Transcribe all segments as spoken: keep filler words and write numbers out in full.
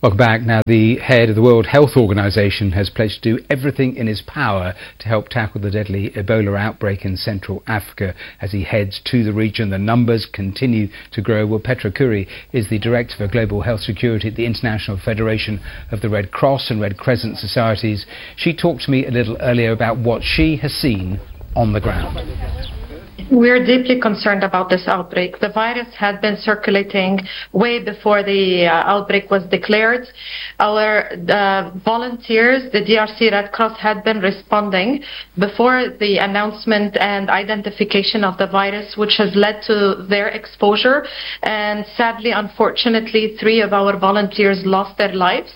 Welcome back. Now, the head of the World Health Organization has pledged to do everything in his power to help tackle the deadly Ebola outbreak in Central Africa. As he heads to the region, the numbers continue to grow. Well, Petra Khoury is the Director for Global Health Security at the International Federation of the Red Cross and Red Crescent Societies. She talked to me a little earlier about what she has seen on the ground. We're deeply concerned about this outbreak. The virus had been circulating way before the uh, outbreak was declared. Our uh, volunteers, the D R C Red Cross, had been responding before the announcement and identification of the virus, which has led to their exposure. And sadly, unfortunately, three of our volunteers lost their lives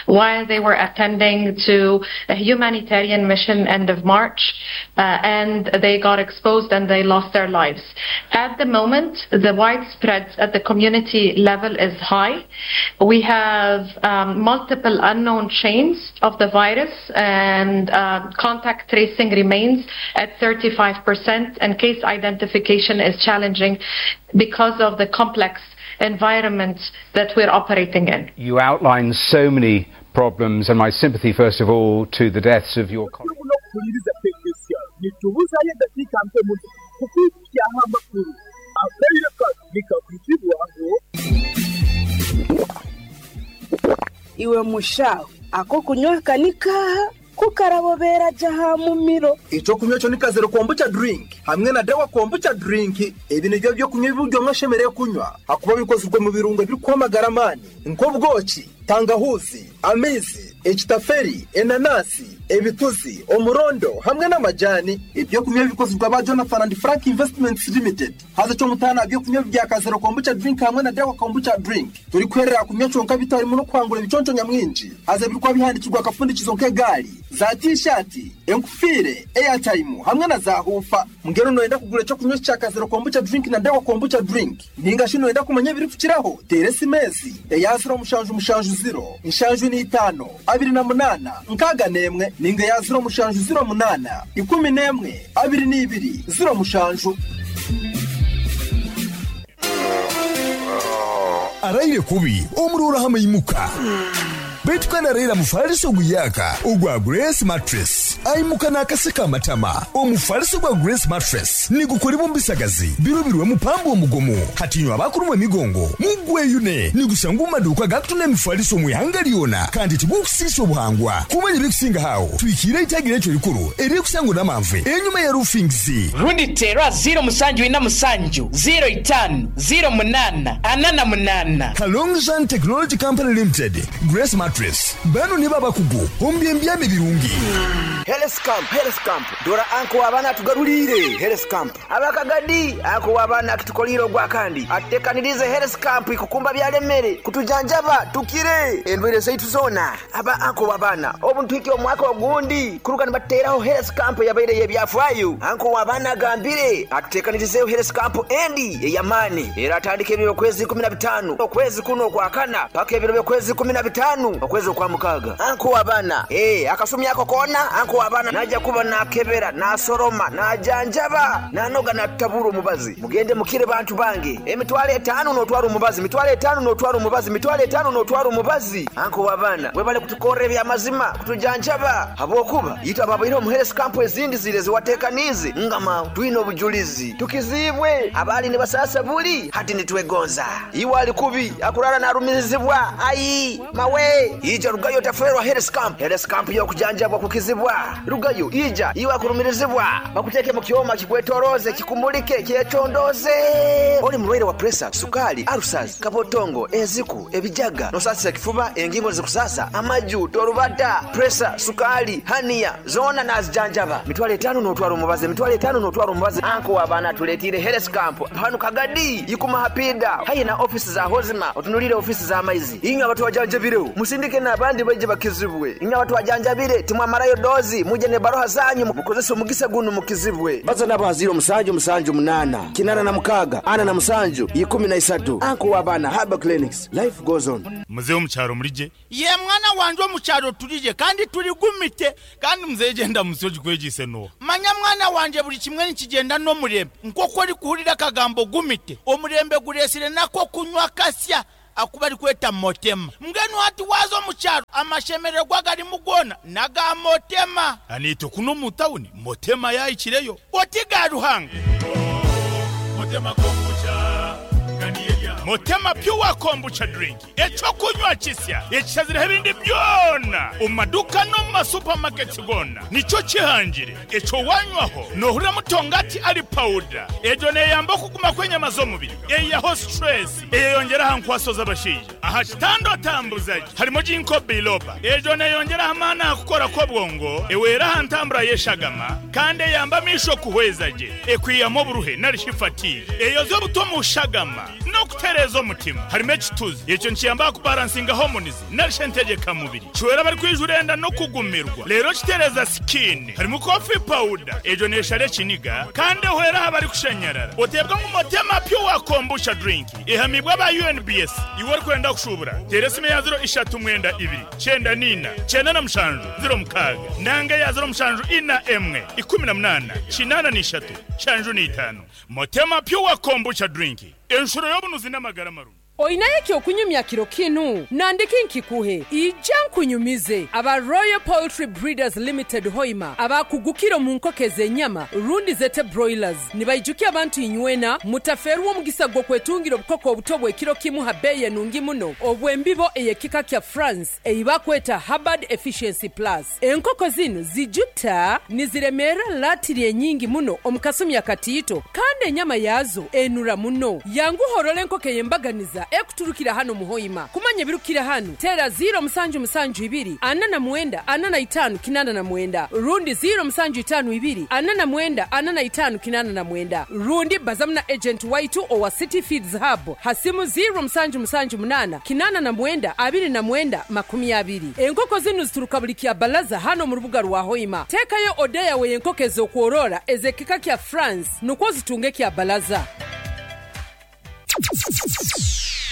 while they were attending to a humanitarian mission end of March, uh, and they got exposed and they lost their lives. At the moment, the widespread at the community level is high. We have um, multiple unknown chains of the virus, and uh, contact tracing remains at thirty-five percent, and case identification is challenging because of the complex environment that we're operating in. You outlined so many problems, and my sympathy, first of all, to the deaths of your colleagues. N'okuhuliriza K K C R nitubuzayo eddakiika nke muno kukwikyaho amakuru akaire kano nikakwitibwaho. Iwe mushawe ako kunywa kanika kukarabobera jaha mumiro. Icyo kunywa cyo ni Kazero Kombucha drink hamwe na Dawa Kombucha drink. Ibi nibyo byo kunywa buri umwe ashemerewe kunywa hakuba bikozwe mu birungo biri kwamagara amani nk'ubwoki, tangahuzi, amizi, ekitaferi, enanasi, ebituzi, umurondo hamwe n'amajyani. Ibyo kunywa bikozwe aba Jonathan and Frank Investments Limited. Haza cyo mutana byo kunywa bya Kazero Kombucha drink hamwe na Dawa Kombucha drink turi kwerera kunywa conka bitarimo no kwangura ibiconco nyamwinshi. Haza birikwa bihandikirwa akapfundikizo nk'egari za T-shirt, enkufire, airtime hamwe na za hufa. Mbwira noyenda kugura icyo kunywa cya Kazero Kombucha drink na Dawa Kombucha drink, ninga shi noyenda kumenya biri kukiraho, tere S M S eya zero mushanju mushanju zero inshanju n'itano abiri na munana nkaga nemwe, ninga ya zero mushanju zero munana ikumi nemwe abiri n'ibiri zero mushanju. Araire kubi omurora hamaimuka baitu kandi araira mufaliso guyaka ogwa Grace Mattress aimuka n'akaseka amatama. Omufaliso gwa Grace Mattress nigukolebwa mu bisagazi birobirwe mupambo omugomo hatinywa abakulumwa emigongo mugweyune. Nigusanga mu maduuka gakutunda emifaliso mu ihanga lyona kandi tigukusiisa obuhangwa. Kumanya ebikusinga hawo twikire itagira ekyo likulu erikusangwa n'amanve enyuma ya roofings. Rundi terwa zero musanju ina musanju zero itano zero munana ana na munana. Kalongzhan Technology Company Limited, Grace Mattress, bano nibo abakugu omu byembyami birungi. Health camp, health camp, dora anko w'abaana atugarulire health camp. Abakagadi anko w'abaana akitukolire ogwakandi atutekanirize health camp ikukumba byalemere kutujanjaba tukire endwire zaitu zona. Aba anko w'abaana obu ntwike omwaka ogundi kuruga nibateraho health camp yabaire yebyafaayo. Anko w'abaana agambire atutekanirizeho health camp endi ey'amaani era atandika ebiro okwezi kumi na bitano okwezi kuno okwakana paka ebiro by'okwezi kumi na bitano okwezi okwa mukaaga. Anko w'abaana eh akasumi ako koona anko w'abaana najja kuba nakebera, nasoroma, najanjaba, nanoga, natutabura omubazi. Mugende mukire bantu bange. Emitwalo etaano n'otwara omubazi, mitwalo etaano n'otwara omubazi, mitwalo etaano n'otwara omubazi. Anko w'abaana webale kutukorra ebyamazima kutujanjaba habwokuba yitwe ababaire omu health camp ezindi zire ziwatekaniize ngama twine obujulizi tukizibwe abaali nibasasa buli hati nitwegonza. Iwe ali kubi akurara narumirizibwa ayi mawe ija rugayo taferwa health camp. Health camp yokujanjabwa kukizibwa rugayo ija. Iwe akurumirizibwa bakuteke mu kyoma kikwetoroze, kikumulike, kyetondoze. Oli mulwaire wa pressure, sukali, ulcers, kabotongo, enziku, ebijaga, nosasisa kifuba, engingo zikusasa, amaju torubata, pressure, sukali, hernia zona nazijanjaba. Mitwalo etaano n'otwara omubazi, mitwalo etaano n'otwara omubazi. Anko w'abaana tuleetire health camp hanu Kagadi ikuma hapida hayi na ofisi za hozima otunulire ofisi z'amaizi. Inywe abatwajanjabireho musindike n'abandi baije bakizibwe. Inywe abatwajanjabire timwamarayo dozi muje ne baroha zanyu mukozese omugisa guno mukizibwe. Baza nabo ha zero musanju musanju munana kinana na mukaga ana na musanju ikumi na isatu. Anko w'abaana Herbal Clinics, life goes on. Muzehe omukyaro mulije? Ye mwana wanje, omukyaro tulije kandi tuligumite. Kandi muzehe genda musoji kwegise no. Manya mwana wanje, buli kimwe nikigenda n'omurembe nk'oku ori kuhurira akagambo gumite. Omurembe guresire nako kunywa kasya. akuba ari kweta Motema. Mbwenu hati waza omu kyaro amashemererwa garimu gona naga Motema. Anito kuno mu tawuni Motema yayikireyo. Otiga Ruhanga. Motema kombucha. Motema pure kombucha drink. Ekyokunywa kisya ekishazireho ebindi byona omu maduka no mu masupamaketi gona nikyo kihangire. Ekyo wanywaho nohurira mutongati ari powder. Egyo neyamba okuguma kw'enyama z'omubiri, eyaho stress, eyeyongeraho nkwaso z'abashaija. Aha kitando atambuzaje harimo ginkgo biloba. Egyo neyongeraho amaani aha kukora kw'obwongo, ewera aha ntambura y'eshagama, kandi eyamba amisho kuhweza gye, ekwihamu oburuhe narishi fatigue, eyoza obuto mu shagama n'okutereeza omutima. Harimo ekituzi, ekyo nikiyamba kubalansinga hormones narishe entegeka mubiri, kiwera bari kwijura enda no kugumirwa. Rero kitereza skin. Harimo coffee powder, egyo neshara ekiniga kandi ehwera aha bari kushanyarara. Otebwa ngu Motema pure kombucha drink ehamibwa aba U N B S. Iwe orikwenda kushubura tera esimu ya zero ishatu mwenda ibiri cyenda nina cyenda na mushanju zero mukaga nanga ya zero mushanju ina emwe ikumi na munana kinana n'ishatu shanju n'itanu. Motema pure kombucha drink enshuro y'obunuzi n'amagara marungi. Oinaye ekyokunyumya kiro kinu nandiki nkikuhe ija nkunyumize aba Royal Poultry Breeders Limited Hoima abakugukira mu nkoko ez'enyama rundi zete broilers nibaijukia abantu inywena mutaferwa omugisa gw'okwetungira obukoko obuto bw'ekiro kimu ha beeyi enungi muno obw'embibo ey'ekika kya France eibakweta Hubbard Efficiency Plus. Enkoko zinu zijuta niziremera latiri enyingi muno omu kasumi akatiito kandi enyama yazo enura muno. Yanguhorora enkoko ey'embaganiza ekuturukira hano muhoima. Kumanya birukira hano tera zero musanju musanju ibiri ana na mwenda ana na itanu kinana na mwenda rundi zero musanju itanu ibiri ana na mwenda ana na itanu kinana na mwenda rundi bazamna agent waitu owa City Feeds Hub hasimu zero musanju musanju munana kinana na mwenda abiri na mwenda makumi abiri. Enkoko zinu zituruka buli kya balaza hano mu rubuga rwa Hoima. Tekayo odeya we enkoko ez'okworora ezekika kya France nukwo zitunge kya balaza.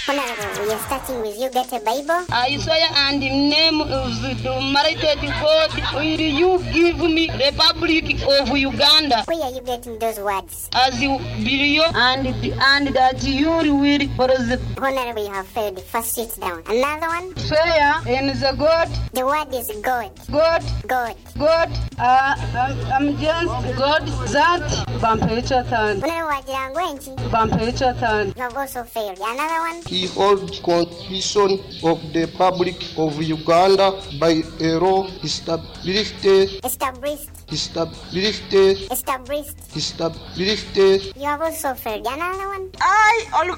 Honorable, we are starting with you. Get a Bible. I swear and in the name of the Almighty God, will you give me Republic of Uganda? Where are you getting those words? As you believe and, and that you will prosper. Honorable, you have failed. First, sit down. Another one. Swear in the God. The word is God. God. God. God. Uh, I'm, I'm just God that. Bampecha. Honorable, Bampecha. You have also failed. Another one. He holds Constitution of the Republic of Uganda by a law established. Established. Established. Established. Established. You have also failed. Another one. I all.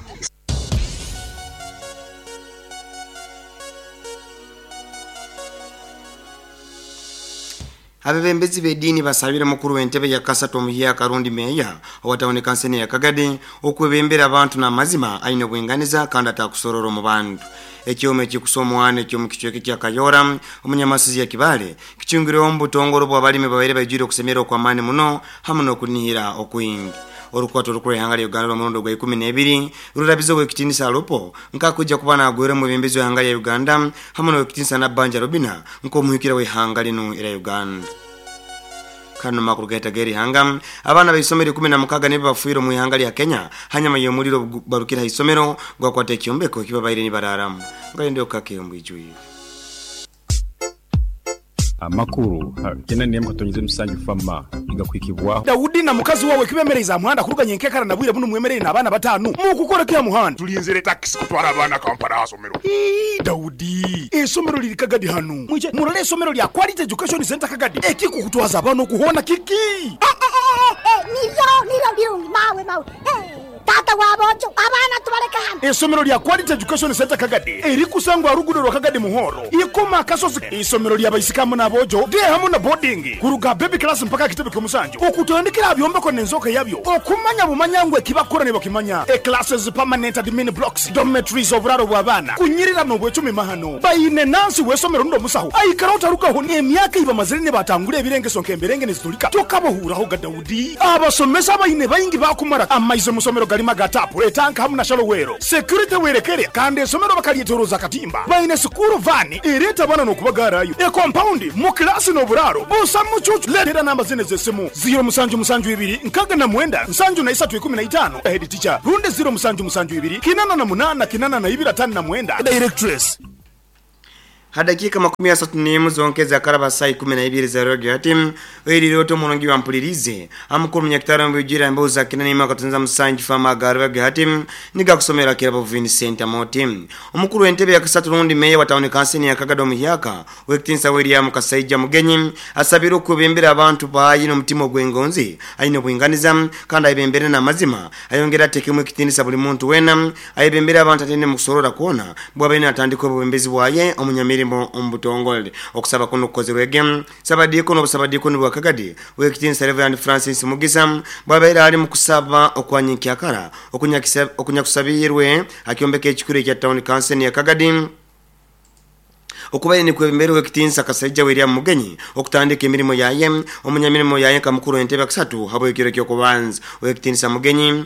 Abebembezi b'eddiini basabire mukuru w'entebe ya Kasatu omuhiya Karundi meya owatawuni kansene ya Kagadi okwebembera abantu n'amazima aine obwenganiza kandi atakusorora mu bantu. Ekyoma ekikusomwana ekyomu kicweka kya Kayora omunyamasizi ya Kibale kichungireho omu butongoro bw'abalimi babaire baijwire okusemera okw'amaani muno hamu n'okunihira okwingi. Orukwato rukuru ihanga lya Uganda lw'omurundi gwa ikumi n'ebiri rurabiza ow'ekitiinisa Alupo nkakujja kuba naagwera omwebembezi w'ihanga lya Uganda hamu n'owekitiinisa Nabbanja Robina nk'omuhikira w'ihanga linu era Uganda. Kano makuru gaita geri hanga abana baisomero ikumi na mukaga nibo bafuire mu ihanga lya Kenya hanyuma y'omuliro barukira isomero gwakwata ekyombeko kibabaire nibararamu ngalende okake ombwijwi amakuru kena niye mukatonyeze musanju fama igakwikibwa Daudi na mukazi wawe kibemereza muhanda kuruganye nkekara nabwire buno mwemerere n'abana batanu mu kukora kya muhanda tulinzire taxi kutwara abana Kampala asomero. Ii Daudi esomero liri Kagadi hano mwije murole esomero lya Quality Education Center Kagadi ekikukutwaza abana okuhona kiki nivyo nivyo birungi mawe mawe tata wabojo abana tubaleka hano. Esomero lya Quality Education Center Kagadi erikusangwa rugudo rwa Kagadi muhoro ikoma akasozi. Isomero lya baisikamu nabojo de hamu na boarding kuruga baby class mpaka kitebe kyomusanjo okutandikira byombeko nenzoka yabyo okumanya bumanyangwe kibakora ne bakimanya e classes permanent admin blocks dormitories oburaro bw'abana kunyirira no bwecumi mahano bayine nansi wesomero ndo musaho aikara utarukaho ni emyaka iba mazire ne batangure ebirengeso nkemberenge nezitulika tokabohuraho ga Daudi abasomesa bayine bayingi bakumara amaize musomero galima ga tapu etanka hamu na shalowero security werekere kandi esomero bakalyeteroza katimba baine sukuru vani ereta bana nokubagarayo e compound mu klasi n'oburaro busa mucucu letera namba zine z'essimu zero musanju musanju ibiri nkaga na mwenda nsanju na isatu ikumi na itano head teacher runde zero musanju musanju ibiri kinana na munana kinana na ibiri atano na mwenda directress. Hadakika makumi asatu n'emu zonkeza karaba saa ikumi na ibiri za radio hatim oyirirwe omulungi wampulirize amukuru munyakitaro mbujira embuuza kinani makatunza musanju fama garwege hatim niga kusomera kirabo Vincent Amotim omukuru w'entebe ya kasatu rundi meya wa town council ya Kagado Muhyaka Wekitinsa William Kasaija Mugenyi asabira okubembera abantu bayi n'omutima ogw'engonzi ayine obwinganiza kandi ayibembere n'amazima ayongera atekemu ekitinisa buli muntu wena ayibembere abantu atende mu kusorora kuona bw'abaine atandika obubembezi bwaye omunyamirimu ombutongole okusaba kuno kukozerwege sabadiko n'obusabadiko bwa Kagadi Wekitinsa Reverend Francis Mugisa bwabaire ali mu kusaba okwanyikyakara okunyakusabirwe akyombeka ekikuru ekya town council ya Kagadi okubaye ni kwebembere Wekitinsa Kasaija William Mugenyi okutandika emirimo yaye omunyamirimo yaye kamukuru entebe kusatu habo ekiro kyo kubanza Wekitinsa Mugenyi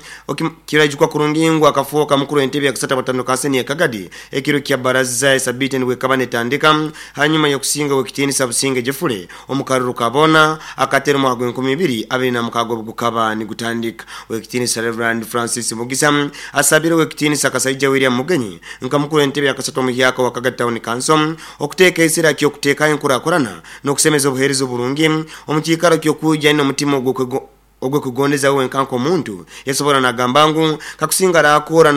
kirajukwa kurungingwa akafuoka mukuru entebe kusatu batano kaseni ya Kagadi ekiro kya baraza sabite ni wekabane tandika hanyuma yokusinga Wekitinsa Businge Jefure omukaruru kabona akatero mu agwe nkumi ibiri abiri na mukago gukaba ni gutandika Wekitinsa Reverend Francis Mugisa asabira Wekitinsa Kasaija William Mugenyi nkamukuru entebe yakasatu muhyaka wa Kagadi Town Council okuteka esira kyo kuteka enkurakurana n'okusemeza obuheereza oburungi omukiikaro ky'okujja n'omutima ogwe kugondeza we nkanko omuntu yasobola nagamba ngu kakusinga arakora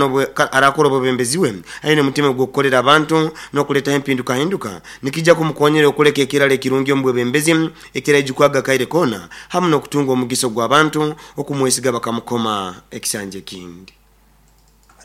arakora obubembeziwe ayine omutima ogw'okukolera abantu n'okuleetaho empindukahinduka nikijja kumukonyera okuleka ekirala ekirungi omu bwebembezi ekirajukwaga kaire koona hamu n'okutunga omugiso gw'abantu okumwesiga bakamukoma ekisanja ekindi.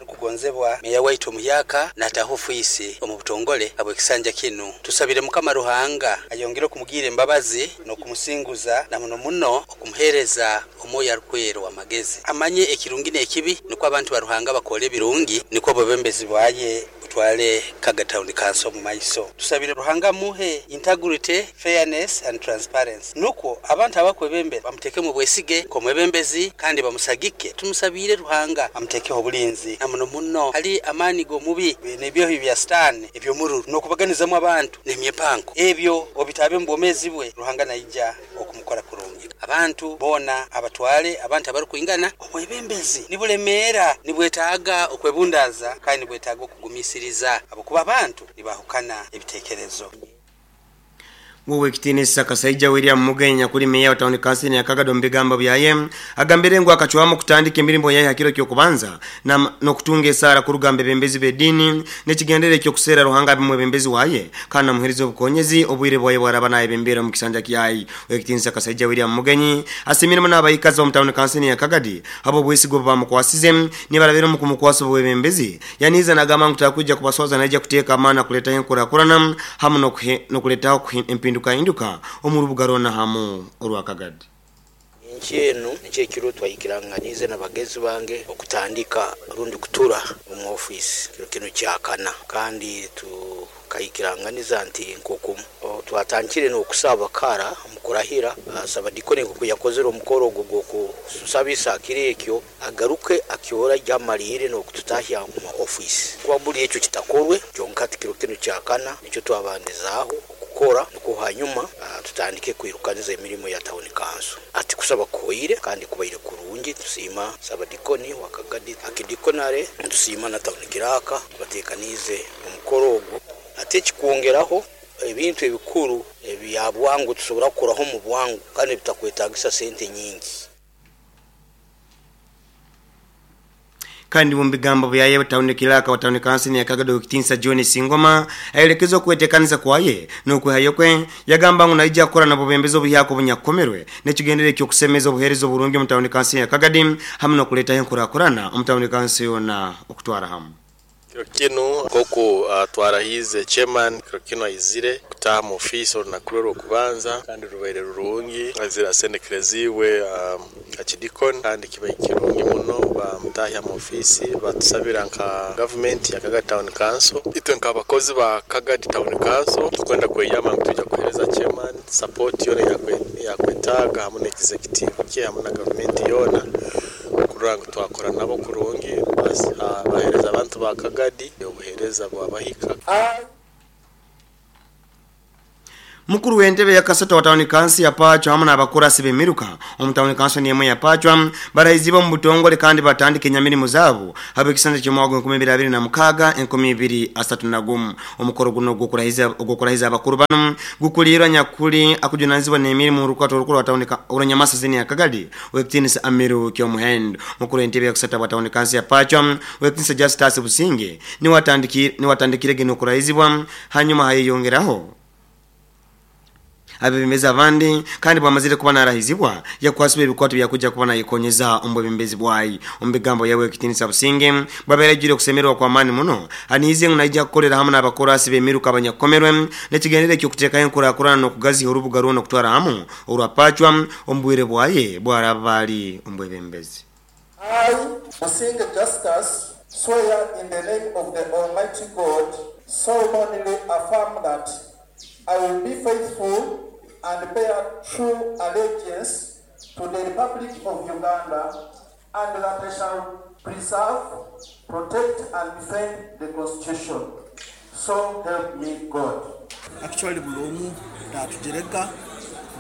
Kugonzebwa meya waitu Muhyaka natahofuisi omu butongole abo kisanja kinu tusabire Mukama Ruhanga ayongere kumugira embabazi no kumusinguza na muno muno okumuhereza omwoyo arukwero wamagezi amanye ekirungi n'ekibi niko abantu ba Ruhanga bakole ebirungi niko bobembezi bwaye utwale Kaga Town Council mu maiso tusabire Ruhanga muhe integrity, fairness and transparency nuko abantu abakwebembera bamuteke mu bwesige ko mwebembezi kandi bamusagike tumusabire Ruhanga amutekeho obulinzi muno muno ali amani go mubi nebyo bya stan ebyo mururu nokubaganizamu abantu nemyepanko ebyo obitabe mbomezi bwe Ruhanga naija okumukora kurungi abantu bona abatwale abantu abarukuingana omwebembezi nibulemera nibwetaaga okwebundaza kandi nibwetaaga okugumisiriza abokuba abantu nibahukana ebitekerezo. Wekitinisa Kasaija William Mugenya kuli meya wa town council ya Kagado mbigamba byaye agambire ngu akachwamu kutandika emirimo yaye hakiro kyo kubanza na nokutunga esara kurugambe bembezi bedini nekigendere kyo kusera Ruhanga bimwe bembezi waye kana muherizo obukonyezi obwire bwaye bwaraba naye bembera mu kisanja kyayi. Wekitinisa Kasaija William Mugenyi asimiremo n'abayikazi mu town council ya Kagadi abo bwesigo bamukwasize nibarabera mu kumukwasa obwebembezi yaniza nagamba ngu takuja kubaswaza naija kuteeka amana kuleta enkurakurana hamu nokuletaho empinduka induka omurubuga rona hamu orwa Kagadi. Nchenu nchekiro twayikiranganize n'abagezi bange okutandika rundi kutura mu office kiro kino kyakana kandi tukayikiranganiza nti nkokumu twatangire n'okusaba kara mukurahira sabadikone kuyakozera omukoro ogwo kususabisa kirekyo agaruke akyora jamalire n'okututahya mu office kwa buli ekyo kitakorwe kyonka kiro kino kyakana nicyo twabandizaho kukora nuko hanyuma tutandike kwirukaniza emirimo ya town council ati kusaba koyire kandi kubaire kurungi tusima sabadikoni wakagadi akidikonare tusima na town kiraka batekanize omukoro ogwo ate kikuongeraho ebintu ebikuru ebya bwangu tusobora kukoraho mu bwangu kandi bitakwetagisa sente nyingi. Kandi mu bigambo byaye town kiraka wa town council ya Kagado Kitinsa John Singoma aelekezwa kuwetekanisa kwaye n'okwehayo kwe yagamba ngu naija kukora nabo bembezo buhyako bunyakomerwe nekigendere kyo kusemeza obuheereza oburungi mu town council ya Kagadi hamwe n'okuleetaho enkurakurana mu town council yona okutwara hamwe. Kiro kinu koko uh, twarahize chairman kiro kinu aizire kutaha mu office olunaku lwe okubanza kandi rubaire rurungi azira asendekereziwe um, akidikon kandi kibaye kirungi muno bamutahya mu office batusabira nka government ya Kagadi Town Council itwe nk'abakozi ba Kagadi Town Council tukwenda kweyama tuja kuhereza chairman support yona yakwetaga hamwe na executive kye hamwe na government yona Kurora ngu twakora nabo kurungi, bahereza abantu ba Kagadi obuhereza bwabahika. Mukuru w'entebe ya Kasata wa tawuni kansi ya Pachwa hamwe n'abakurasi b'emiruka omu tawuni kansi n'emwe ya Pachwa barahiziibwe omu butongole kandi batandika enyamirimu zaabo habw'ekisanja ky'omwaka enkumi ibiri abiri na mukaaga enkumi ibiri asatu na gumu. Omukoro guno ogw'okurahiza abakuru bano gukuliirwa nyakuli akujunanizibwa n'emirimu orukwata orukuru wa tawuni orw'Nyamasa zini ya Kagadi ow'ekitiinisa Amiru Kyomuhendo. Mukuru w'entebe ya Kasata wa tawuni kansi ya Pachwa ow'ekitiinisa Justus Businge niwe atandikire okurahizibwa, hanyuma hayeyongeraho abebembezi abandi kandi bwamazire kuba narahizibwa yakwasibwa ebikwato byakuja kuba nayikonyeza omu bwebembezi bwayi. Omu bigambo yawe ekitiinisa Businge bwabeeragire okusemererwa kwa maani muno, aniize ngu naija kukolera hamwe n'abakorasi b'emiruka abanyakukomerwe n'ekigendere eky'okuteekayo enkuraakurana n'okugaziha orubuga rwona okutwara hamu orwa Pachwa omu bwire bwaye bwaraba ali omu bwebembezi. I, Businge Justus, swear in the name of the Almighty God, solemnly affirm that I will be faithful and bear true allegiance to the Republic of Uganda, and that I shall preserve, protect, and defend the Constitution. So help me God. Actually, buli omu natujerega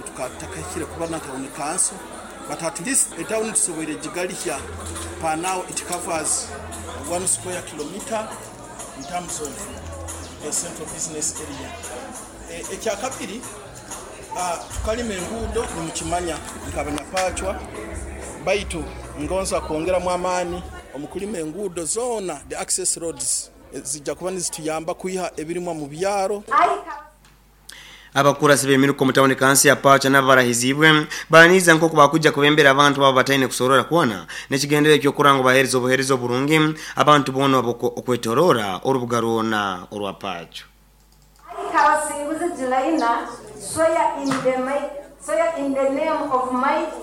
tukatakahikire kuba na town council, but at least a town tusoboire gigalihya. Per now it covers one square kilometer in terms of the central business area. Ekyakabiri, tukalima enguudo nimukimanya nk'abanyapachwa, baitu ngonza kwongeramu amaani omukulima enguudo zoona, the access roads zijja kuba nizituyamba kwiha ebirimwa mu byaro. Abakurasi b'emiruka omu tawuni kansi ya Pachwa nabo barahizibwe baniiza nk'oku bakujja kubembera abantu babo bataine kusorora kwona n'ekigendere eky'okuranga baheereza obuheereza oburungi abantu boona okwetorora orubuga rwona orwa Pachwa. Kabasinguzi Julaina, swear in the might, swear in the name of might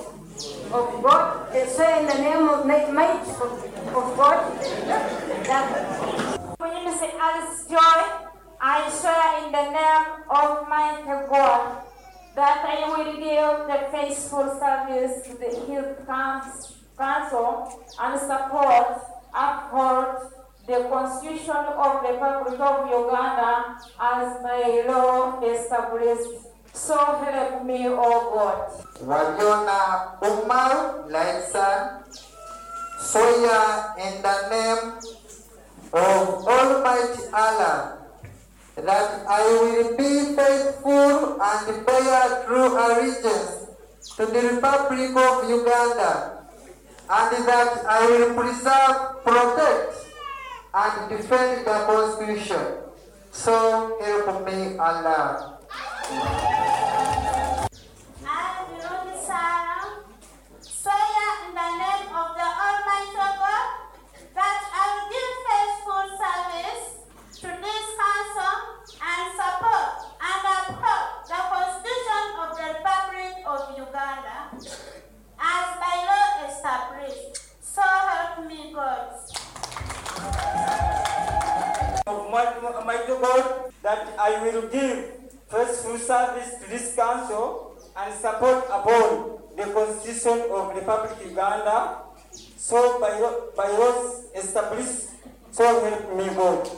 of God, swear in the name of might of, of God. That Community Alice Joy, I swear in the name of mighty God that I will give the faithful service to the Health Council and support, uphold the Constitution of the Republic of Uganda as my law established. So help me, O God. Wajona Umar Laisan, swear in the name of Almighty Allah that I will be faithful and bear true allegiance to the Republic of Uganda, and that I will preserve, protect, and defend the Constitution. So help me Allah. I, Birungi Sarah, swear in the name of the Almighty God that I will give faithful service to this council and support and uphold the Constitution of the Republic of Uganda as by law established. So help me God. Of mighty God, that I will give faithful service to this council and support upon the Constitution of the Republic of Uganda, so by, by laws established, so help me God.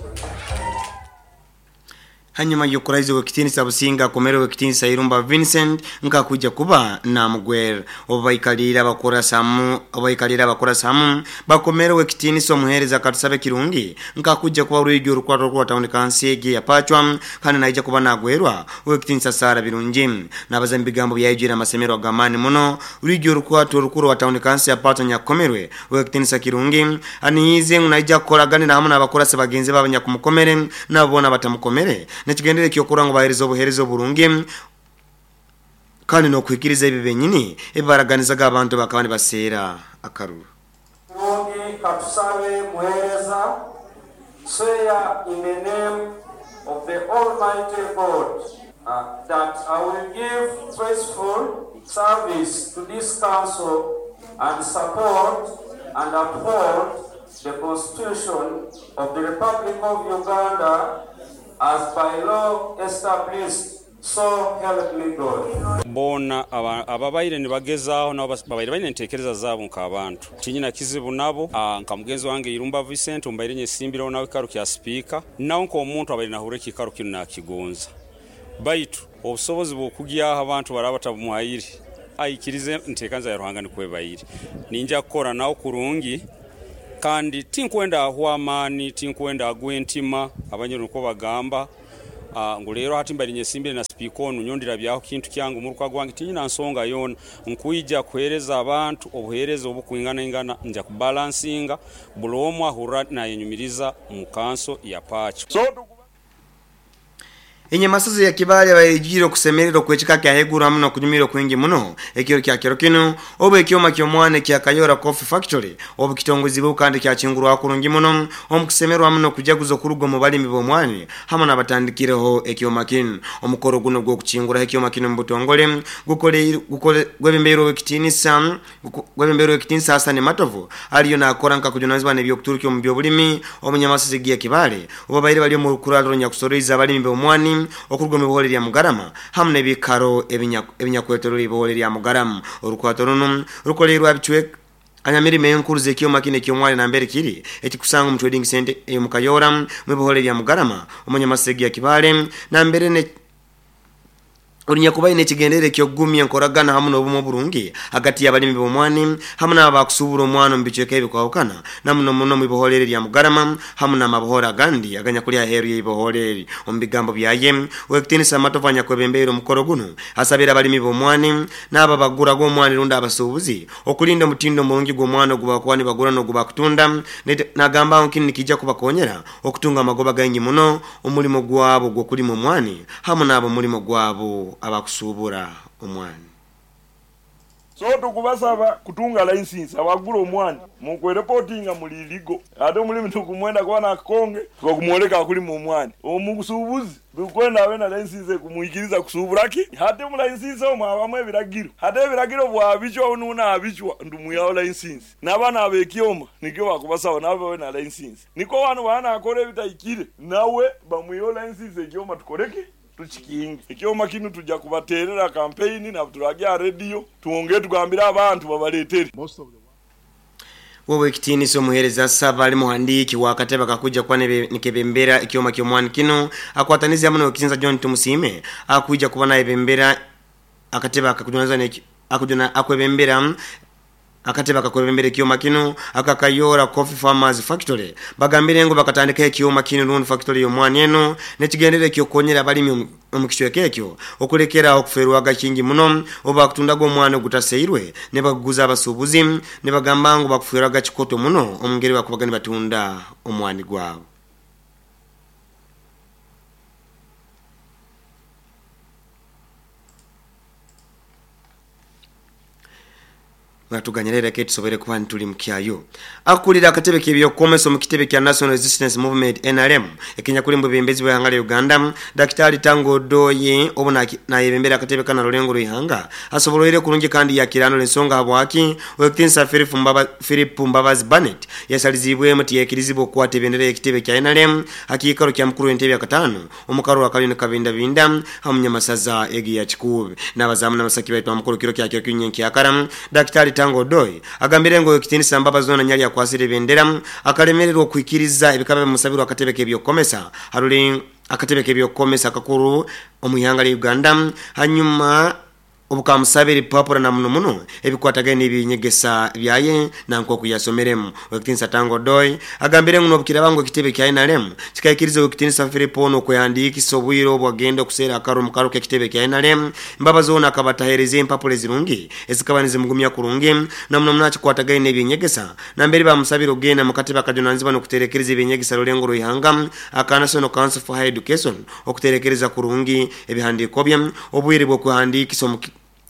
Hanyuma y'okurahiza ow'ekitiinisa Businga akomerewe ekitiinisa Irumba Vincent nkakujja kuba namugwera obu baikaliire abakorasamu abaikaliire abakorasamu bakomerewe ekitiinisa omuheereza Katusabe Kirungi nkakujja kuba orwigi orukwata orwa tawuni kansi egi ya Pachwa kandi naija kuba nagwerwa ow'ekitiinisa Sara Birungi nabaza mu bigambo byayijwire amasemero ag'amaani muno. Orwigi orukwata orukuru wa tawuni kansi ya Pachwa nyakukomerwe ow'ekitiinisa Kirungi aniize ngu naija kukoraganira hamwe n'abakorasi bagenzi babo nyakumukomere nabo boona batamukomere nekigendere kyokura ngo bahereza obuhereza oburungi kandi n'okuhikiriza ebi benyini ebibaraganizaga abantu bakaba nibaseera akaruru. Kirungi Katusabe Muhereza, swear in the name of the Almighty God uh, that I will give faithful service to this council and support and uphold the Constitution of the Republic of Uganda as by law established. So help me God. Bona ababaire nibagezaaho nabo babaire baine enteekereza zaabo nk'abantu tinyina kizibu nabo. Nka mugenzi wange Irumba Vincent mbaire nyesimbiraho nawe ekikaro kya sipiika, nawe nk'omuntu abaire nahurra ekikaro kinu nakigonza, baitu obusobozi bw'okugyaho abantu baraba batabumuhaire aikirize enteekaniza ya Ruhanga nikwo ebaire. Ninja kukora nawe kurungi kandi tinkwenda ahwa amaani, tinkwenda agwa entima, abanyoro nikwo bagamba. Uh, ngu leero hati mbaire nyesimbire na sipiika onu nyondera byaho kintu kyangu muruka gwange tinyina nsonga yoona nkwija kuheereza abantu obuheereza obukwinganaingana, nja kubalansinga buli omwe ahurra nayenyumiriza mu kanso ya Pacho. So, Enyamasozi ya Kibaale bayijire okusemererwa okwekika kya heguru hamu n'okunyumirwa kwingi muno ekiro kya kiro kinu obu ekyoma ky'omwana kya Kayora Coffee Factory obu kitongozibwe kandi kyakingurwa kurungi muno omu kusemererwa hamu n'okujaguza okuruga omu balimi b'omwani hamu n'abatandikireho ekyoma kinu. Omukoro guno gw'okukinguraho ekyoma kinu mu butongole gukole gwebembeirwe ekitiinisa gwebembeirwe ekitiinisa Hassan Matovu aliyo nakora nka kujunanizibwa n'ebyokuturukya omu by'obulimi omunyamasozi ya Kibaale obu babaire bali omu rukuraro nyakusoroiza abalimi b'omwani okuruga mu bihore lya Mugarama hamu n'ebikaro ebinyakwetoroire ibihore lya Mugarama. Orukwato runo rukolerwa bicweka anyamirimo enkuru z'ekyoma kino eky'omwani nambere kiri ekikusanga omu trading center ey'omu Kayora mu bihore lya Mugarama omunyamasegi ya Kibaale nambere ne olinyakubaine ekigendere eky'okugumya enkoragana hamu n'obumu oburungi hagati y'abalimi b'omwani hamu n'abakusubura omwana omu bicweka ebikwahukana namuno muno mu biholere lya Mugarama hamu n'amabuhoro agandi aganyakuli aheeru y'ebiholere. Omu bigambo byaye Owekitiinisa Matovu anyakwebembeire omukoro guno asabira abalimi b'omwani n'abo abagura gw'omwani rundi abasuubuzi okulinda omutindo omurungi gw'omwana ogubakuba nibagura n'ogubakutunda, nagamba ngu kinu nikijja kubakonyera okutunga amagoba gaingi muno omulimo gwabo gw'okulima omwani hamu n'abo omulimo gwabo abakusubura omwani. So tukubasaba kutunga license abagura omwani mukwereportinga muli ligo ate omulimi tukumwenda kuba nakonge tukakumwoleka akulima omwani omusuubuzi tukwenda abe na license kumuikiriza kusuubura ki hate mu license omwo abamu ebiragiro hate ebiragiro bwabichwa onuna abichwa ndumuyaho license n'abaana abekyoma nikyo bakubasaba nabo babe na license niko bano bana akora ebitayikire nawe bamuyaho license ekyoma tukoreke tuchikingi ekyoma kinu tujja kubaterera campaign na turajya radio tuongee tugambira abantu babaletere. Wewe ekitiinisa omuheereza saba ali muhandiiki wa katebe kakuja kuba nikebembera ekyoma ky'omwani kino akwatanize hamu n'ekitiinisa John Tumusiime akuija kuba nayebembera akatebe akakujunanizibwa akujuna akwebembera akatebe akakwebembera ekyoma kino akakayora Coffee Farmers Factory bagambire ngo bakatandika ekyoma kino rundi factory y'omwani eno nekigendere ekyokonyera abalimi omu kicweka ekyo okulekera okuferwaga kingi muno oba kutundaga omwana ogutaseirwe ne baguza abasuubuzi ne bagamba ngo bakuferwaga kikoto muno omungeri bakubaga nibatunda omwani gwabo. Natuganyirira ke tusobere kuba ntuli mukyayo. Akulira akatebe k'ebyokomesa mu kitebe kya National Resistance Movement N R M ekinyakulimbo bembezi bw'ihanga lya Uganda Daktari Tango Doye obuna nayebembera akatebe kana Lulengo Ruhanga asoboloire kurungi kandi yakirano ensonga habwaki Owekitiinisa Philip Mbaba Philip Mbabazi Barnett yasalizibwe muti yekirizibwa okukwata ebendera y'ekitebe kya N R M akiikaro kya mukuru w'entebe ya katano omukaro akalini kabinda binda hamunyamasaza egi ya Kikuube n'abazamu n'abasaki baitu amukuru kiro kya kiro kinyenkyakara Daktari Tango Odoi agambire ngo ekitiinisa Mbabazi zona nyali akwasire bendera akalemererwa okuikiriza ebikaba bimusabirwa akatebe k'ebyokomesa haruli akatebe k'ebyokomesa kakuru omuhanga lya Uganda hanyuma obukamusabira papura na muno muno ebikwatagene n'ebinyegesa byaye nanko kuyasomeremu. Owekitiinisa Tango Odoi agambire ngo nobukira bango ekitebe kya N R M kikaikiriza Owekitiinisa Philip ono okuyandiikisa obwire obwagenda okuseera akaro mu karo k'ekitebe kya N R M Mbabazi ono akabatahereza empapula ezirungi ezikaba nizimugumya kurungi na muno muno akikwatagane n'ebinyegesa nambere bamusabira ogenda mu katebe akajunanizibwa n'okuterekereza ebinyegesa Lulengo Ruhanga aka National Council for Higher Education okuterekereza kurungi ebihandiiko bye obwire bw'okuhandiikisa omu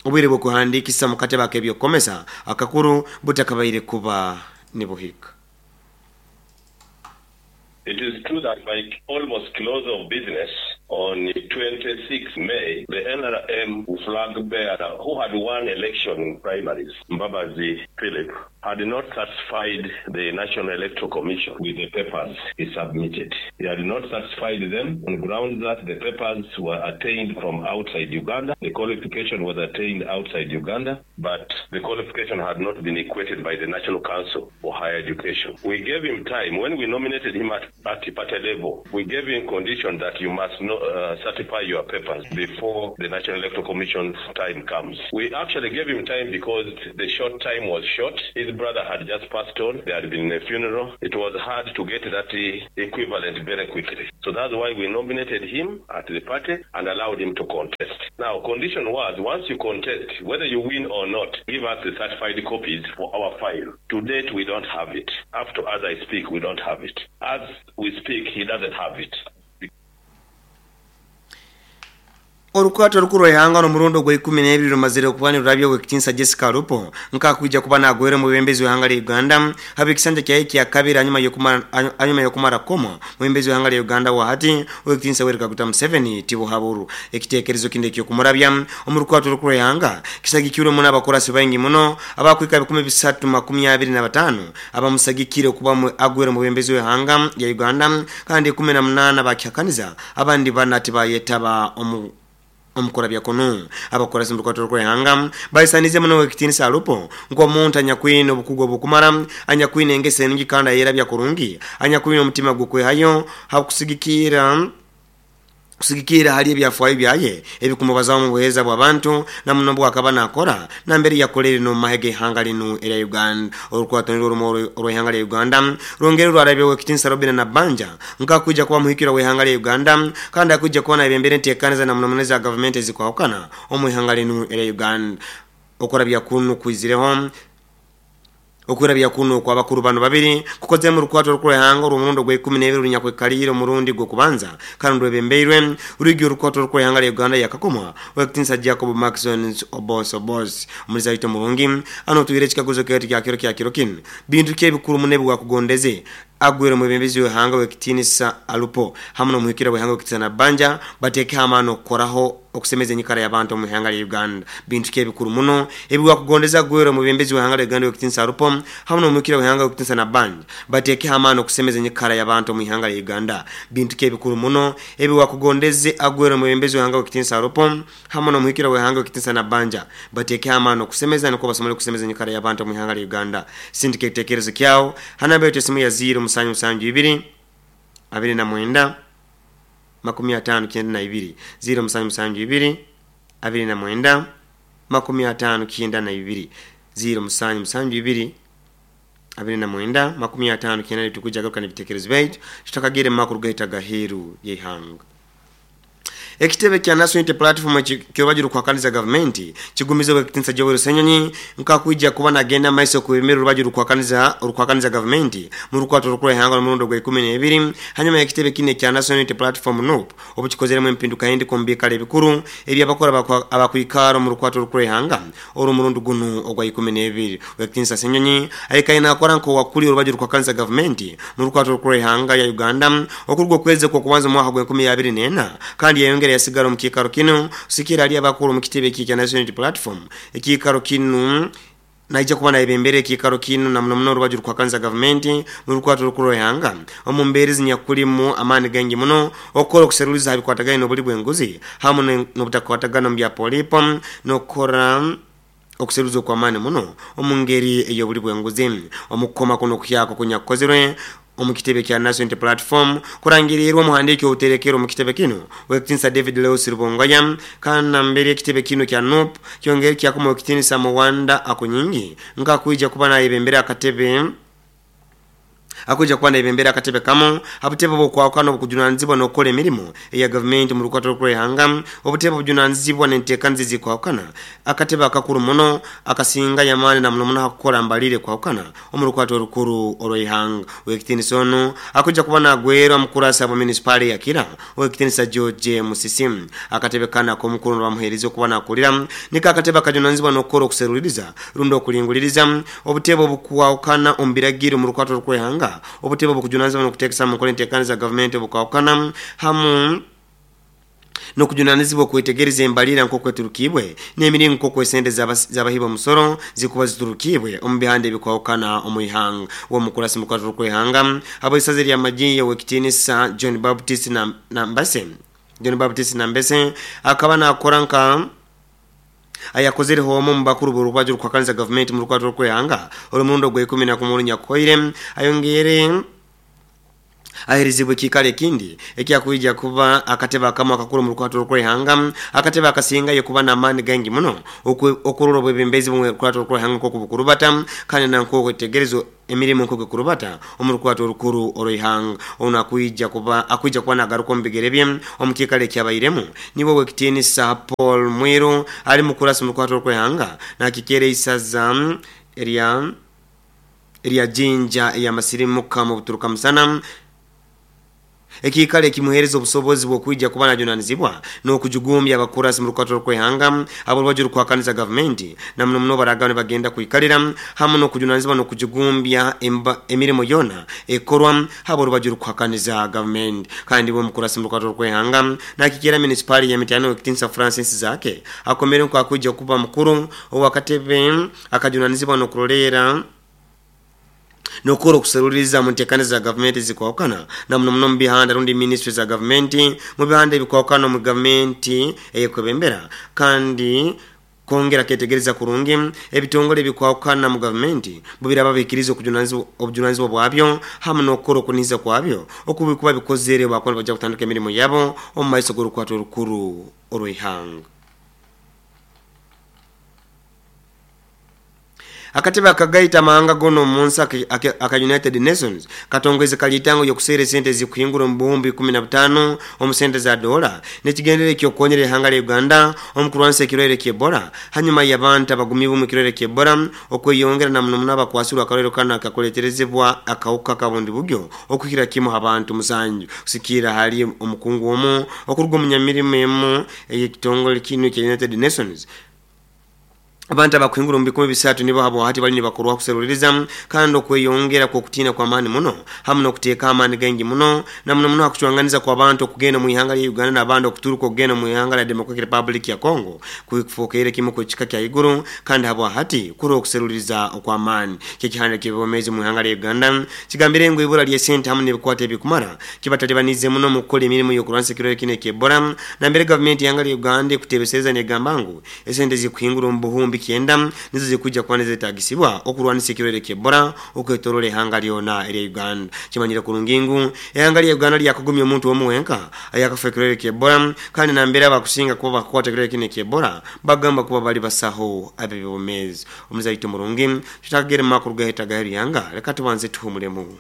obwire bw'okuhandiikisa mu katebe ak'ebyokomesa akakuru butakabaire kuba nibuhika. It is true that by almost close of business On twenty-sixth May, the N R M flag bearer who had won election in primaries, Mbabazi Philip, had not satisfied the National Electoral Commission with the papers he submitted. He had not satisfied them on grounds that the papers were attained from outside Uganda. The qualification was attained outside Uganda, but the qualification had not been equated by the National Council for Higher Education. We gave him time. When we nominated him at party, party level, we gave him condition that you must not, uh, certify your papers before the National Electoral Commission's time comes. We actually gave him time because the short time was short. His brother had just passed on. There had been a funeral. It was hard to get that equivalent very quickly. So that's why we nominated him at the party and allowed him to contest. Now, condition was, once you contest, whether you win or not, give us the certified copies for our file. To date, we don't have it. Up to as I speak, we don't have it. As we speak, he doesn't have it. Orukwato rukuru ehanga no murundo gwa ikumi n'ebiri rumazire okuba nirurabya ow'ekitiinisa Jessica Alupo nkakwija kuba nagwera omubembezi w'ihanga lya Uganda haba ekisanja kyaye kya kabiri hanyuma y'okumara hanyuma y'okumara koma omubembezi w'ihanga lya Uganda wahati ow'ekitiinisa Yoweri Kaguta Museveni tibuhaburu ekiteekerezo kindi eky'okumurabya omu rukwato rukuru ehanga kisagikirwemu n'abakorasi baingi muno abakwika ebikumi bisatu makumi abiri na bataano abamusagikire okuba agwera omubembezi w'ihanga lya Uganda kandi ikumi na munaana bakihakaniza abandi bana tibayetaba omu omukora byakono abakora simbuko rwehanga bayisanize muno ekitiinisa Alupo ng'omuntu anyakwine obukugu obukumara anyakwine engese nungi kandi ayera byakurungi anyakwine omutima gukwehayo hakusigikira kusigikira hali ebyafaayo byaye ebikumubazamu mu buheereza bw'abantu na muno bwakaba nakora na mbere yakolere no mahege ihanga linu erya Uganda orukwato nirwo orw'ihanga lya Uganda rwongere rwarabyeho ekitiinisa Robina Nabbanja nkakwija kuba muhikira w'ihanga lya Uganda kandi akwija kuba nabembere nteekaniza na muno za gavumenti ezikwahukana omu ihanga linu erya Uganda okora byakunu kwizireho okurabya kuno kwa bakuru bano babiri kukoze mu rukwato rw'ihanga urumurundo gwa ikumi n'ebiri runyakwekalire umurundi gwo kubanza kandi rwebembeirwe urugyo rukwato rw'ihanga lya Uganda yakakomwa w'ekitiinisa Jacob Maxon Obos Obos omuliza murungi ano tuwire ekikaguzo kyetu kya kiro kya kiro kino bintu ki ebikuru munebwe gwakugondeze agwere omubembezi w'ihanga w'ekitiinisa Alupo hamwe n'omuhikira w'ihanga w'ekitiinisa Nabbanja bateeke amaani okukoraho okusemeza enyikara y'abantu omu ihanga lya Uganda bintu ki ebikuru muno ebigwakugondeza agwere omubembezi w'ihanga lya Uganda w'ekitiinisa Alupo hamwe n'omuhikira w'ihanga w'ekitiinisa Nabbanja bateeke amaani okusemeza enyikara y'abantu omu ihanga lya Uganda bintu ki ebikuru muno ebigwakugondeze agwere omubembezi w'ihanga w'ekitiinisa Alupo hamwe n'omuhikira w'ihanga w'ekitiinisa Nabbanja bateeke amaani okusemeza nukwo basobole okusemeza enyikara y'abantu omu ihanga lya Uganda sindika ekiteekerezo kyawo hanamba yetu esimu ya ziro musanju musanju ibiri abiri na mwenda makumi atano kyenda na ibiri ziro musanju musanju ibiri abiri na mwenda makumi atano kyenda na ibiri ziro musanju musanju ibiri abiri na mwenda makumi atano kyenda tukuja garuka n'ebitekerezo byaitu tutakagire mu makuru gaita gaheru y'ihanga. Ekitebe kya National Unity Platform kyobajuru kwakaniza gavumenti kigumiza ekitiinisa Joel Ssenyonyi nkakwija kuba nagenda maiso kubemera urubajuru kwakaniza urukwakaniza gavumenti mu rukwato rukuru ihanga mu gwa ikumi n'ebiri hanyuma ekitebe kine kya National Unity Platform N U P obukikozeremu empinduka yindi kumbikala ebikuru ebyabakora abakwikara mu rukwato rukuru ihanga oro murundo guno ogwa ikumi n'ebiri ekitiinisa Ssenyonyi ayikaina akora nko wakuli urubajuru kwakaniza gavumenti mu rukwato rukuru ihanga ya Uganda okurwo kweze kwa kubanza mu mwaka gwa enkumi abiri n'ena kandi yayongera yasigara mu kikaro kino sikira ali abakuru mu kitebe kya National Unity Platform ekikaro kino naija kuba naibembere ekikaro kino na muno muno rubaju rukwakanza gavumenti mu rukwato rukuru ihanga omu mbeere zinyakulimu amaani gangi muno okukora okuseruliza habikwatagana n'obuli bw'enguzi hamwe n'obutakwatagana mu bya polipo n'okukora okuseruliza okw'amaani muno omu ngeri ey'obuli bw'enguzi omukukoma kuno okuhyako kunyakukozerwe omu kitebe kya National Unity Platform kurangirirwa omuhandiiki obuterekero mu kitebe kino ow'ekitiinisa David Lewis Rubongoya kandi mbere ekitebe kino kya N U P kyongere kyakoma ow'ekitiinisa Muwanda Akunyingi nkakwija kuba nayebembera akatebe akuja kuba nayebembera akatebe kamo abutebe bwokwawukana obukujunanizibwa n'okukola emirimu eya gavumenti mu rukwato rw'ihanga obutebe obujunanizibwa n'enteekaniza ezikwawukana akatebe akakuru muno akasinga yamaani na muno muno hakukora mbalire kwawukana omu rukwato orukuru orw'ihanga ow'ekitiinisa ono akuja kuba nagwerwa mukurasa bwa munisipaali ya Kira ow'ekitiinisa George Musisi akatebe kana ak'omukuru bamuheereza okuba nakulira niko akatebe akajunanizibwa n'okukola okuseruliriza rundi okulinguliriza obutebe obukwawukana omu biragiro mu rukwato rw'ihanga obutebe obukujunanizibwa n'okuteekesa mu nkola enteekaniza gavumenti obukwawukana hamu Nokujunanizibwa kwetegereza embalira nko kweturukibwe n'emiringo nko kwesende z'abahiba omusoro zikuba ziturukibwe omu bihande ebikwahukana omu ihanga. Uwo mukurasi mukwato kwehanga abo isaze lya majiya wekitinisa John Baptist na Nambase John Baptist Nambese akaba nakora nka ayakozere homo mubakuru borukwaje rukwakanza government mu rukwato kwehanga olumundo gwe ikumi na kumwe nyakoire ayongere aherizibwe kikale kindi ekyakuija kuba akateba akamo akakuru mu rukwato rwehanga akateba akasinga yokuba na mani gangi muno okururo bwebembezi mu rukwato rwehanga ko kubukurubata kandi nanko kwetegerezo emirimu nko kukurubata omurukwato rukuru oroihanga ona kuija kuba akuija kuba nagaruko mbigerebye omukikale kyabairemu nibo wekitini sa Paul Mwiru ali mukurasi mu rukwato rwehanga na kikere isaza eria eria jinja ya masirimuka mu buturuka musana ekikale kimuhereza obusobozi bw'okwijja kuba najunanizibwa n'okujugumbya abakurasi mu rukwato rw'ehanga abo rwajuru kwakanisa government na muno muno baragane bagenda kuikalira hamwe n'okujunanizibwa n'okujugumbya emirimu yona ekorwa habo rwajuru kwakanisa government. Kandi bo mukurasi mu rukwato rw'ehanga nakikera municipal ya Mitano Kitinsa Francis Zake akomere kwa kujja kuba mukuru owakatebe akajunanizibwa n'okurolera nokoro kuseruriza muntekane za government zikwakana na muno muno mbihanda rundi ministry za government mu bihanda bikwakana mu government eyekwebembera kandi kongera ketegereza kurungi ebitongole bikwakana mu government bubira babikirizo kujunanizwa obujunanizwa bwabyo hamwe nokoro kuniza kwabyo okubikuba bikozere bakona baja kutandika emirimo yabo omu maiso g'orukwato rukuru orw'ihanga. Akatebe akagaita mahanga gono munsi aka United Nations katongeze kalitango yokusere sente zikuhingura mu buhumbi kumi na butano omu sente za dola nekigendere kyokonyera ihanga lya Uganda omukurwanisa ekirwaire ky'Ebola hanyuma y'abantu abagumiibwe mu kirwaire ky'Ebola okweyongera na muno muno abakwasirwe akarwaire kano akakoleterezebwa akawuka kabundi buryo okuhira kimu abantu musanju kusikira hali omukungu omu okuruga omunyamirimo emu ey'ekitongole kino kya United Nations. Abantu abakuhingura mu bikumi bisatu nibo habo hati bali nibakorwa kuseruliriza kandi okweyongera kwa kutina kwa amani muno hamwe n'okuteeka amani gangi muno na muno muno akucwanganiza kwa abantu okugenda mu ihanga lya Uganda n'abandi okuturuka okugenda mu ihanga lya Democratic Republic ya Congo kufuukire kimu ku kika kya iguru kandi habo hati kuri okuseruliriza okwa amani kikihanda kibomezi mu ihanga lya Uganda kigambire ngo ibura lya sente hamwe n'ebikwate ebikumara kibatalibanize muno mu kukola emirimu y'okulwanisa ekirwaire kino eky'Ebola na mbere gavumenti y'ihanga lya Uganda ekutebesereza negamba ngu esente zikuhingura omu buhumbi kyenda nizo zikujja kuba nezetagisibwa okulwanisa ekirwaire ky'Ebola okwetorola ihanga lyona erya Uganda. Kimanyire kurungingu ihanga lya Uganda lyakugumya omuntu omu wenka ayakafa ekirwaire ky'Ebola kandi nambere abakusinga kuba bakukwata ekirwaire kino eky'Ebola bagamba kuba bali basaho ab'ebyobumeezi. Omuzaito murungi tutagere mu makuru gaheta gaheri leka tubanze tuhumulemu.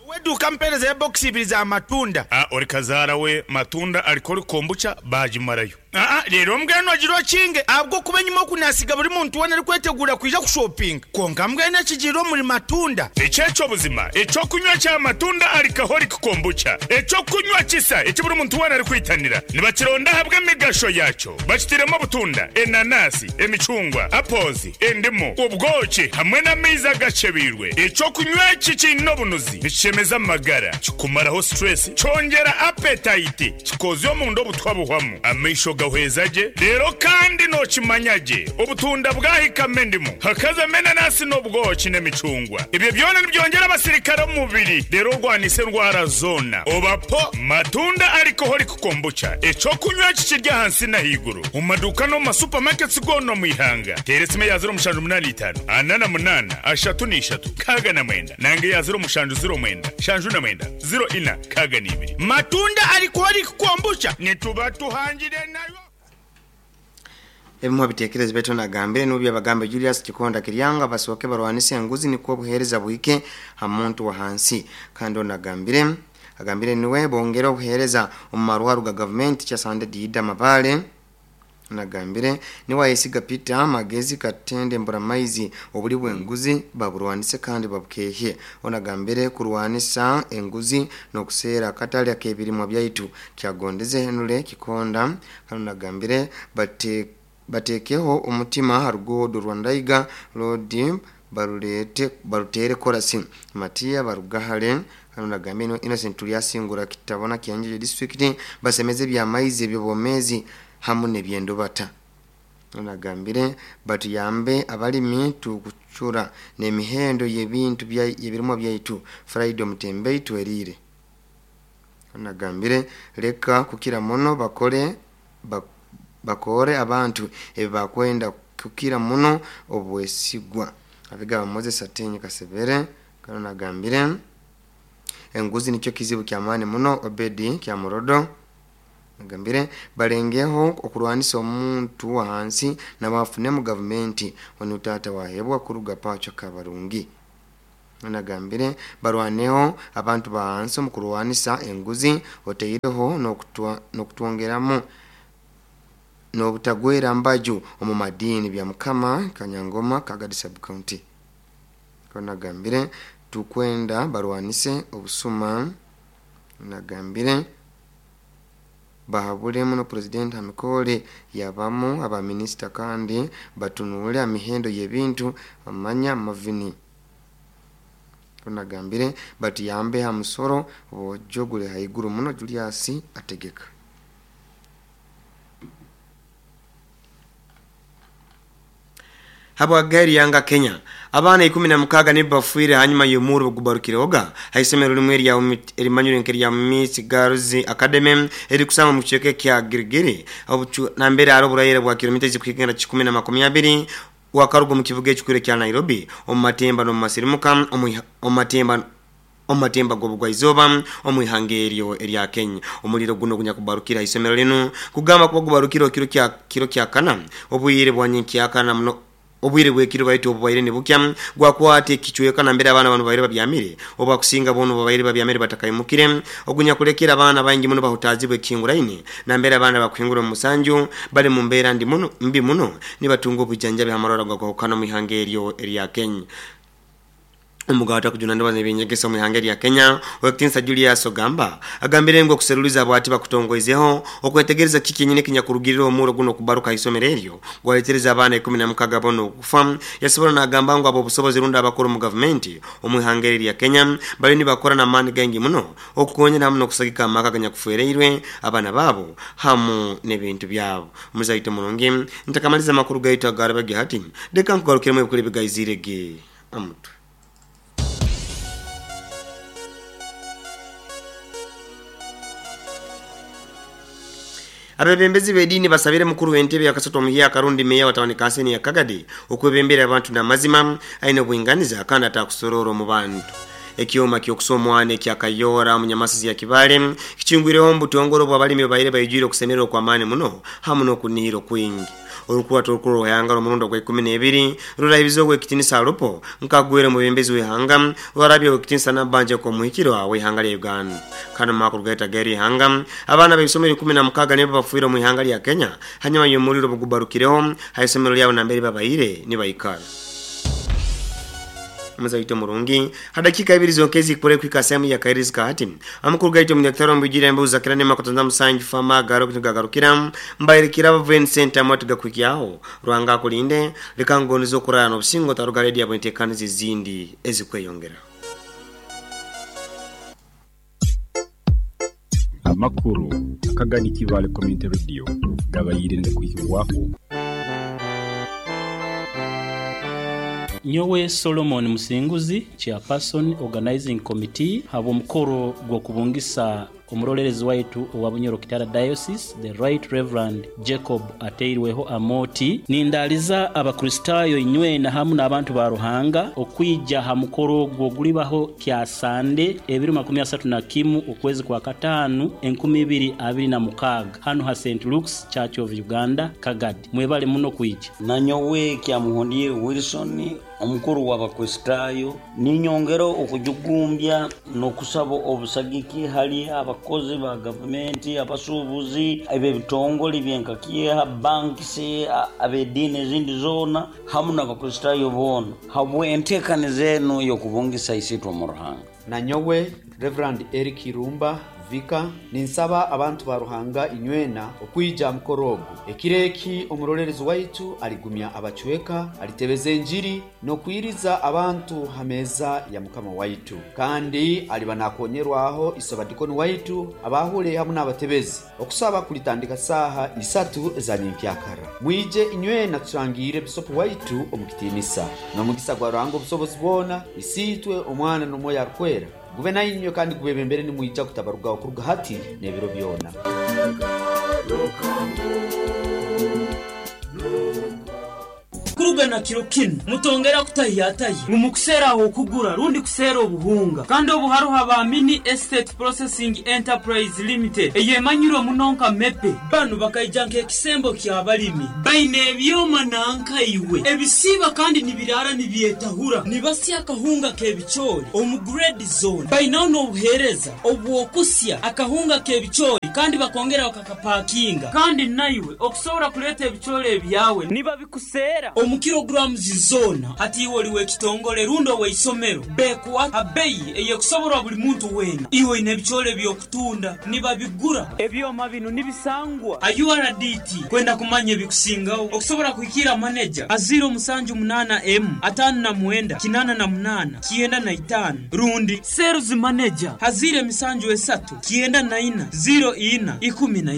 Weduka mpereza ya box ibiri za matunda. Ah, ori kazara we matunda alikori kombucha bajimarayo. Ah, rero mbweno agiro kinge abwo kuba nyuma kunasiga buri muntu wana ari kwetegura kuja ku shopping. Konka mbwene kijiro muri matunda. Echecho buzima, echo kunywa cha matunda alcoholic kombucha. Echo kunywa kisa, echo buri muntu wana ari kwitanira. Nibakironda habwe migasho yacho. Bakitiremo butunda, enanasi, emicungwa, apples, endimu, ubwoki hamwe n'amaizi agacebirwe. Echo kunywa kikino bunuzi. Bishemeza magara, kikumaraho stress, cyongera appetite, kikozyo mu ndo butwabuhwamu. Amaisho gahwezaje rero kandi nokimanyage obutunda bwahikame ndimu hakaza menanasi n'obwoki n'emicungwa ibyo byona nibyongera abasirikare mu mubiri rero rwanise ndwara zona obapo matunda alcoholic kombucha eco kunywa kikirya hansi na higuru mu maduka no mu supermarkets gono mu ihanga teresime ya zero mushanju munani itanu anana munana ashatu n'ishatu kaga na mwenda nange ya zero mushanju zero mwenda shanju na mwenda zero ina kaga n'ibiri matunda alcoholic kombucha nituba tuhangire nayo. Ebimu bitekerezo beto nagambire n'ubya bagambe Julius Kikonda Kiryanga basoke barwanise enguzi niko buhereza buhike hamuntu wa hansi kandi onagambire agambire niwe bongera obuhereza omu ga government cha Sande Dida Mabale nagambire niwa yesiga Peter Magezi Katende Mburamaizi obuli bwenguzi baburwanise kandi babukehe onagambire kurwanisa enguzi nokusera katali akebirimwa byaitu kyagondeze Henule Kikonda kandi nagambire bate batekeho omutima harugodo Rwandaiga Lodi barulete barutere korasi Matia Barugahale hano nagambye Innocent Tulyasingura kitabona kianjeje district basemeze bya maize ebyobomezi hamu nebyendobata. Nagambire batuyambe abalimi tukuchura nemihendo y'ebintu bya yebirimwa byaitu Friday Mutembei twerire. Nagambire leka kukira muno bakore bakore abantu ebakwenda kukira muno obwesigwa. Abiga Moses Atenye Kasebere kano nagambire enguzi nikyo kizibu kya maani muno Obedi kya Murodo. Nagambire balengeho okurwanisa omuntu wa hansi na bafune mu government onutata wahebwa kuruga pacho kabarungi. Nagambire barwaneho abantu ba hansi mu kurwanisa enguzi oteireho nokutwa nokutwongeramo nobutagwera mbaju omu madini bya mukama Kanyangoma Kagadi sub county. Nagambire tukwenda barwanise obusuma. Nagambire bahabule muno president Hamikole yabamu aba minister kandi batunule amihendo y'ebintu amanya mavini. Nagambire batiyambe ha musoro bojogule haiguru muno Julius ategeka. Habwa gari yanga Kenya abana ikumi na mukaga nibafuire hanyuma y'omuro gubarukiroga haisomero limwe lya erimanyure nkeri ya Miss Girls Academy eri kusama mu kicheke kya Girigiri na mbere aro burayere bwa kilomita zikigenda kikumi na makumi abiri wakarugo mu kivuga ekikure kya Nairobi omumatemba no masirimuka omumatemba omatemba gobugwa izoba omuihangerio erya Kenya. Omuliro guno gunyakubarukira isomero lino kugamba kuba gubarukira kiro kya kiro kya kana obuyire bwa kana muno obwire bwekiro baitu obwaire nibukya gwakwate kichweka na mbere abana bano baire babyamire oba kusinga bono baire babyamire batakayimukire ogunya kulekera abana bangi muno bahutazibwe kinguraine na mbere abana bakwingura mu musanju bali mu mbera ndi muno mbi muno nibatunga obujanjabi amarora gwakana mu ihangerio erya Kenya. Umugata kujuna ndabaza ebinyegesa mu ihanga lya Kenya Owekitinsa Julius Ogamba agambire ngo kuseruliza bwati bakutongoizeho okwetegereza kiki nyine kinyakurugirira omuro guno kubaruka isomero eryo gwaletereza abana ikumi na mukaga bono okufa. Yasobola nagamba ngo abo obusobozi runda abakuru mu government omu ihanga lya Kenya bali nibakora na mani gangi muno okukonyera hamu nokusagika amaka ganyakufereirwe abana babo hamu n'ebintu byabo. Muzaito mulungi ntakamaliza makuru gaitu agarabagi hati deka nkugarukiremu ebikuru bigayizirege amutu. Abebembezi b'edini basabire mukuru w'entebe yakasatu omuhiya Karundi meya watawani kanseni ya Kagadi okwebembera abantu n'amazima aine obwinganiza kandi atakusorora mu bantu. Ekyoma ky'okusomwana ekyakayora mu Nyamasizi ya Kibale kichingwireho mbutongoro bw'abalimi baire bayijire okusemererwa kwa maani muno hamu n'okunihira kwingi. Olukwata olukulu ruhanga omurundo gwa ikumi n'ebiri rurahibiza ogw'ekitinisa Alupo nkagwire mu bembezi w'ihanga warabye ogw'ekitinisa Nabbanja kw'omuhikiro w'ihanga lya Uganda. Kano makuru gaita geri ihanga abaana b'ebisomero ikumi na mukaga nibo bafuire mu ihanga lya Kenya hanyuma y'omuliro bugubarukireho haisomero lyabo nambere babaire nibaikara. Muzaito murungi hadakika ibiri zonkezi kure kwika sehemu ya kairizi kahati amakuru gaito mdaktari mbujira mbuza kirane makotanza musanju fama garo kutugagarukira mbairikira Vincent amatuga kwikiaho Rwanga kulinde likangonizo kurana obusingo taruga radio abwentekanizi zindi ezikweyongera. Amakuru akagani Kibale Community Radio gabayire ndikuhiwaho. Nyowe Solomon Musinguzi, chairperson organizing committee, habo mukoro gwo kubungisa omurolerezi waitu owa Bunyoro Kitara Diocese, the Right Reverend Jacob Ateirweho Amoti, nindaliza abakristayo inywe na hamu n'abantu ba Ruhanga okwija ha mukoro gwo gulibaho kya Sande ebiri makumi asatu na kimu okwezi kwa katanu enkumi ibiri abiri na mukaga hano ha Saint Luke's Church of Uganda Kagadi. Mwebale muno kwija. Nanyowe kya Muhondie Wilson omukuru w'abakristayo ninyongero okujugumbya n'okusaba obusagiki hali abakozi ba gavumenti, abasuubuzi, eb'ebitongole byenkakiha, bankisi, ab'ediini ezindi zoona hamu n'abakristayo boona habwe enteekaniza eno y'okubungisa isitwe mu Ruhanga. Nanyowe Reverend Eric Irumba, Vika. Ninsaba abantu ba Ruhanga inywena okwija mukoro ogu. Ekiro eki omurolerezi waitu aligumya abacweka, alitebeza enjiri n'okwiriza abantu ha meeza ya Mukama waitu, kandi aliba nakonyerwaho isobadikoni waitu abahule hamu n'abatebezi. Okusaba kulitandika saaha isatu eza nyenkyakara. Mwije inywena tusangiire bisopu waitu omu kitiinisa. N'omugisa gwa Ruhanga obusobozi bwona, Isiitwe, Omwana n'Omwoyo Arukwera gube nainywe kandi gubebembere nimwija kutabarugaho kuruga hati n'ebiro byona. Kuruga na kiro kinu mutongera kutahiyatahi ngu mukuseera okugura rundi kuseera obuhunga, kandi obu haruho aba Mini Estate Processing Enterprise Limited eyemanyirwe muno nka Mepe. Banu bakaija nk'ekisembo ky'abalimi, baine ebyoma nankaiwe ebisiiba kandi nibiraara nibyetahura, nibasya akahunga k'ebicoori omu grade zone. Bainaho n'obuheereza obw'okusya akahunga k'ebicoori kandi bakongera bakakapakinga, kandi naiwe okusobora kuleeta ebicoori ebyawe nibabikuseera omu kilograms zona. Hati iwe oli w'ekitongole rundi ow'eisomero, bekuwa abeyi eyekusoborwa buli muntu weena. Iwe oine ebicoori eby'okutunda nibabigura. Ebyoma binu nibisangwa a U R D T. Kwenda kumanya ebikusingaho okusobora kuhikira maneja a ziro musanju munaana emu ataano na mwenda kinaana na munaana kyenda na itaano, rundi sales manager a ziro emisanju esatu kyenda na ina ziro ina ikumi na